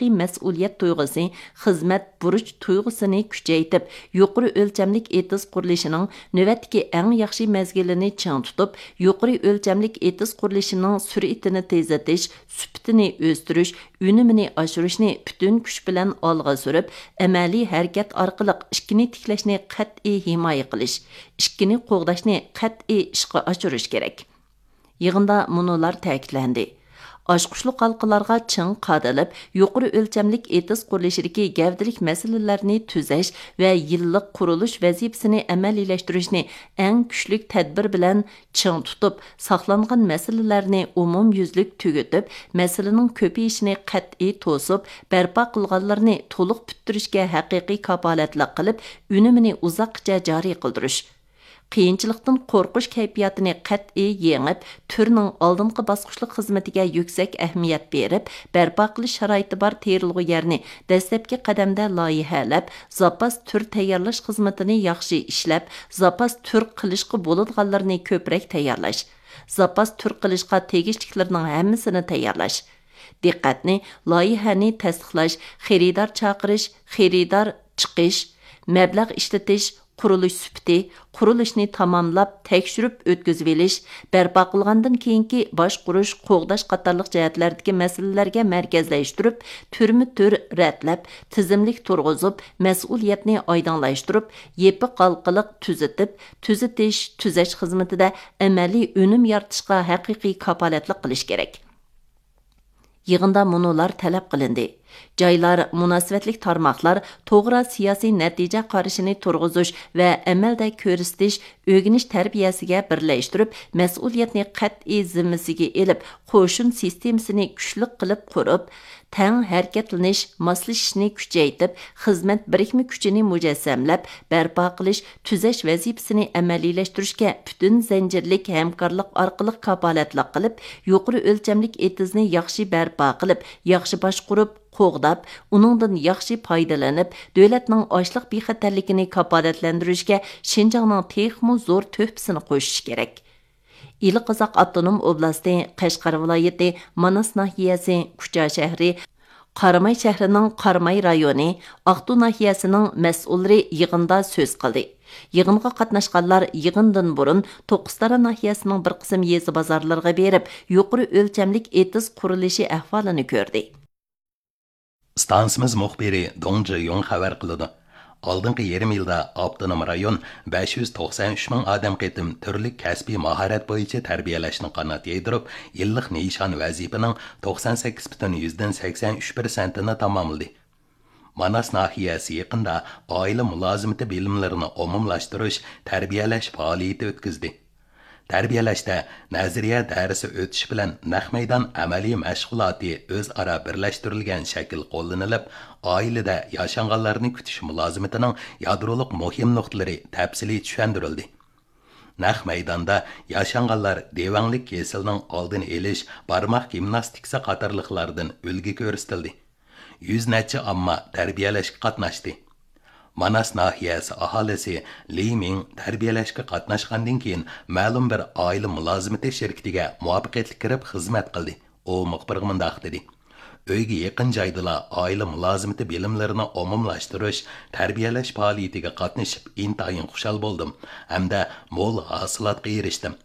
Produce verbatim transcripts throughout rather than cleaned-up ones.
ھەقىقىي مەسئۇلىيەت تۇيغۇسى، خىزمەت بۇرچ تۇيغۇسىنى كۈچەيتىپ، يۇقىرى ئۆلچەملىك ئېتىز قۇرۇلۇشىنىڭ نۆۋەتتىكى ئەڭ ياخشى مەزگىلىنى چىڭ تۇتۇپ، يۇقىرى ئۆلچەملىك ئېتىز قۇرۇلۇشىنىڭ سۈرئىتىنى تېزلىتىش، سۈپىتىنى ئۆستۈرۈش، ئۈنۈمىنى ئاشۇرۇشنى پۈتۈن كۈچ بىلەن ئالغا سۈرۈپ، ئەمەلىي ھەرىكەت ئارقىلىق ئىككىنى تىكلەشنى قەتئىي ھىمايە قىلىش، ئىككىنى قوغداشنى قەتئىي ئىشقا ئاشۇرۇش كېرەك. يىغىندا مۇنۇلار تەكىتلەندى: ئاچقۇچلۇق ھالقىلارغا چىڭ قادىلىپ، يۇقىرى ئۆلچەملىك ئېتىز قۇرۇلۇشىدىكى گەۋدىلىك مەسىلىلەرنى تۈزەش ۋە يىللىق قۇرۇلۇش ۋەزىپىسىنى ئەمەلىيلەشتۈرۈشنى ئەڭ كۈچلۈك تەدبىر بىلەن چىڭ تۇتۇپ، ساقلانغان مەسىلىلەرنى ئومۇميۈزلۈك تۈگىتىپ، مەسىلىنىڭ كۆپىيىشىنى قەتئىي توسۇپ، بەرپا قىلغانلىرىنى تولۇق پۈتتۈرۈشكە ھەقىقىي كاپالەتلىك قىلىپ، ئۈنۈمىنى ئۇزاققىچە جارى قىلدۇرۇش. قىيىنچىلىقتىن قورقۇش كەيپىياتىنى قەتئىي يېڭىپ، تۈرنىڭ ئالدىنقى باسقۇچلۇق خىزمىتىگە يۈكسەك ئەھمىيەت بېرىپ، بەرپا قىلىش شارائىتى بار تېرىلغۇ يەرنى دەسلەپكى قەدەمدە لايىھەلەپ، زاپاس تۈر تەييارلاش خىزمىتىنى ياخشى ئىشلەپ، زاپاس تۈر قىلىشقا بولىدىغانلىرىنى كۆپرەك تەييارلاش، زاپاس تۈر قىلىشقا تېگىشلىكلىرىنىڭ ھەممىسىنى تەييارلاش. دىققەتنى لايىھەنى تەستىقلاش، خېرىدار چاقىرىش، خېرىدار چىقىش، مەبلەغ ئىشلىتىش، قۇرۇلۇش سۈپىتى، قۇرۇلۇشنى تاماملاپ، تەكشۈرۈپ ئۆتكۈزۈۋېلىش، بەرپا قىلغاندىن كېيىنكى باشقۇرۇش، قوغداش قاتارلىق جەھەتلەردىكى مەسىلىلەرگە مەركەزلەشتۈرۈپ، تۈرمۇ تۈر رەتلەپ، تىزىملىك تۇرغۇزۇپ، مەسئۇلىيەتنى ئايدىڭلاشتۇرۇپ، يېپىق ھالقىلىق تۈزىتىپ، تۈزىتىش، تۈزەش خىزمىتىدە ئەمەلىي ئۈنۈم يارىتىشقا ھەقىقىي كاپالەتلىك قىلىش كېرەك. يىغىندا مۇنۇلار تەلەپ قىلىندى: جايلار، مۇناسىۋەتلىك تارماقلار توغرا سىياسىي نەتىجە قارىشىنى تۇرغۇزۇش ۋە ئەمەلدە كۆرسىتىش، ئۆگىنىش تەربىيەسىگە بىرلەشتۈرۈپ، مەسئۇلىيەتنى قەتئىي زىممىسىگە ئېلىپ، قوشۇن سىستېمىسىنى كۈچلۈك قىلىپ قۇرۇپ، تەڭ ھەرىكەتلىنىش، ماسلىشىشنى كۈچەيتىپ، خىزمەت بىرىكمە كۈچىنى مۇجەسسەملەپ، بەرپا قىلىش، تۈزەش ۋەزىپىسىنى ئەمەلىيلەشتۈرۈشكە پۈتۈن زەنجىرلىك ھەمكارلىق ئارقىلىق كاپالەتلىك قىلىپ، يۇقىرى ئۆلچەملىك ئېتىزنى ياخشى بەرپا قىلىپ، ياخشى باشقۇرۇپ، قوغداپ، ئۇنىڭدىن ياخشى پايدىلىنىپ، دۆلەتنىڭ ئاشلىق بىخەتەرلىكىنى كاپالەتلەندۈرۈشكە شىنجاڭنىڭ تېخىمۇ زور تۆھپىسىنى قوشۇشى كېرەك. ئىلى قازاق ئاپتونوم ئوبلاستى، قەشقەر ۋىلايىتى، ماناس ناھىيەسى، كۇچا شەھىرى، قاراماي شەھىرىنىڭ قاراماي رايونى، ئاقتۇ ناھىيەسىنىڭ مەسئۇللىرى يىغىندا سۆز قىلدى. يىغىنغا قاتناشقانلار يىغىندىن بۇرۇن توققۇزتارا ناھىيەسىنىڭ بىر قىسىم يېزا بازارلىرىغا بېرىپ، يۇقىرى ئۆلچەملىك ئېتىز قۇرۇلۇشى ئەھۋالىنى كۆردى. ئىستانسىمىز مۇخبىرى دۇڭ جىيۇڭ خەۋەر قىلىدۇ. ئالدىنقى يېرىم يىلدا ئاپتونوم رايون بەش يۈز توقسان ئۈچ مىڭ ئادەم قېتىم تۈرلۈك كەسپىي ماھارەت بويىچە تەربىيەلەشنى قانات يايدۇرۇپ، يىللىق نىشان ۋەزىپىنىڭ توقسان سەككىز پۈتۈن يۈزدىن سەكسەن ئۈچ پىرسەنتىنى تاماملىدى. ماناس ناھىيەسى يېقىندا ئائىلە مۇلازىمىتى بىلىملىرىنى ئومۇملاشتۇرۇش، تەربىيەلەش پائالىيىتى ئۆتكۈزدى. تەربىيەلەشتە نەزەرىيە دەرسى ئۆتۈش بىلەن نەق مەيدان ئەمەلىي مەشغۇلاتى ئۆزئارا بىرلەشتۈرۈلگەن شەكىل قوللىنىلىپ، ئائىلىدە ياشانغانلارنى كۈتۈش مۇلازىمىتىنىڭ يادرولۇق مۇھىم نۇقتىلىرى تەپسىلىي چۈشەندۈرۈلدى. نەق مەيداندا ياشانغانلار دېۋەڭلىك كېسىلىنىڭ ئالدىنى ئېلىش، بارماق گىمناستىكىسى قاتارلىقلاردىن ئۈلگە كۆرسىتىلدى. يۈز نەچچە ئامما تەربىيەلەشكە قاتناشتى. ماناس ناھىيەسى ئاھالىسى لى مىڭ تەربىيەلەشكە قاتناشقاندىن كېيىن، مەلۇم بىر ئائىلە مۇلازىمىتى شىركىتىگە مۇۋەپپەقىيەتلىك كىرىپ خىزمەت قىلدى. ئۇ مۇخبىرغا مۇنداق دېدى: ئۆيگە يېقىن جايدىلا ئائىلە مۇلازىمىتى بىلىملىرىنى ئومۇملاشتۇرۇش، تەربىيەلەش پائالىيىتىگە قاتنىشىپ ئىنتايىن خۇشال بولدۇم ھەمدە مول ھاسىلاتقا ئېرىشتىم.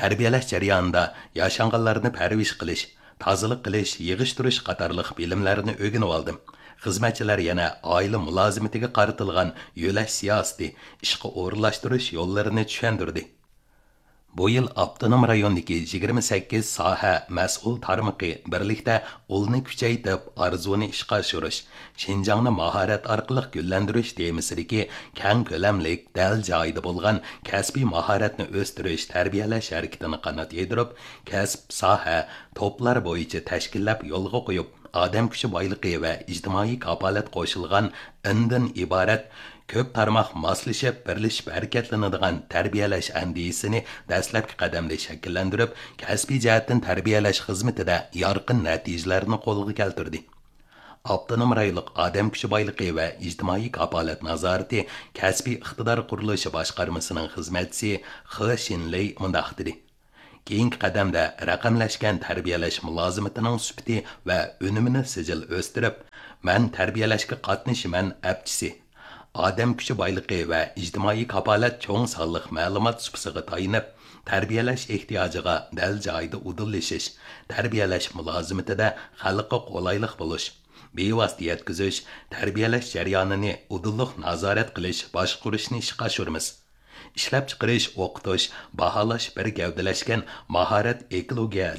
تەربىيەلەش جەريانىدا ياشانغانلارنى پەرۋىش قىلىش، تازىلىق قىلىش، يىغىشتۇرۇش قاتارلىق بىلىملەرنى ئۆگىنىۋالدىم. خىزمەتچىلەر يەنە ئائىلە مۇلازىمىتىگە قارىتىلغان يۆلەش سىياسىتى، ئىشقا ئورۇنلاشتۇرۇش يوللىرىنى چۈشەندۈردى. بۇ يىل ئاپتونوم رايوندىكى يىگىرمە سەككىز ساھە مەسئۇل تارمىقى بىرلىكتە ئۇلنى كۈچەيتىپ، ئارزۇنى ئىشقا ئاشۇرۇش، شىنجاڭنى ماھارەت ئارقىلىق گۈللەندۈرۈش تېمىسىدىكى كەڭ كۆلەملىك، دەل جايىدا بولغان كەسپىي ماھارەتنى ئۆستۈرۈش، تەربىيەلەش ھەرىكىتىنى قانات يايدۇرۇپ، كەسىپ، ساھە، توپلار بويىچە تەشكىللەپ يولغا قويۇپ، ئادەم كۈچى بايلىقى ۋە ئىجتىمائىي كاپالەت قوشۇلغان ئىندىن ئىبارەت كۆپ تارماق ماسلىشىپ، بىرلىشىپ ھەرىكەتلىنىدىغان تەربىيەلەش ئەندىزىسىنى دەسلەپكى قەدەمدە شەكىللەندۈرۈپ، كەسپىي جەھەتتىن تەربىيەلەش خىزمىتىدە يارقىن نەتىجىلەرنى قولغا كەلتۈردى. ئاپتونوم رايونلۇق ئادەم كۈچى بايلىقى ۋە ئىجتىمائىي كاپالەت نازارىتى كەسپىي ئىقتىدار قۇرۇلۇشى باشقارمىسىنىڭ خىزمەتچىسى خې شىنلېي مۇنداق دېدى: كېيىنكى قەدەمدە رەقەملەشكەن تەربىيەلەش مۇلازىمىتىنىڭ سۈپىتى ۋە ئۈنۈمىنى سىجىل ئۆستۈرۈپ، مەن تەربىيەلەشكە قاتنىشىمەن ئەپچىسى، ئادەم كۈچى بايلىقى ۋە ئىجتىمائىي كاپالەت چوڭ سانلىق مەلۇمات سۇپىسىغا تايىنىپ، تەربىيەلەش ئېھتىياجىغا دەل جايىدا ئۇدۇللىشىش، تەربىيەلەش مۇلازىمىتىدە خەلققە قولايلىق بولۇش، بىۋاسىتە يەتكۈزۈش، تەربىيەلەش جەريانىنى ئۇدۇللۇق نازارەت قىلىش، باشقۇرۇشنى ئىشقا ئاشۇرىمىز. ئىشلەپچىقىرىش، ئوقۇتۇش، باھالاش بىر گەۋدىلەشكەن ماھارەت ئېكولوگىيە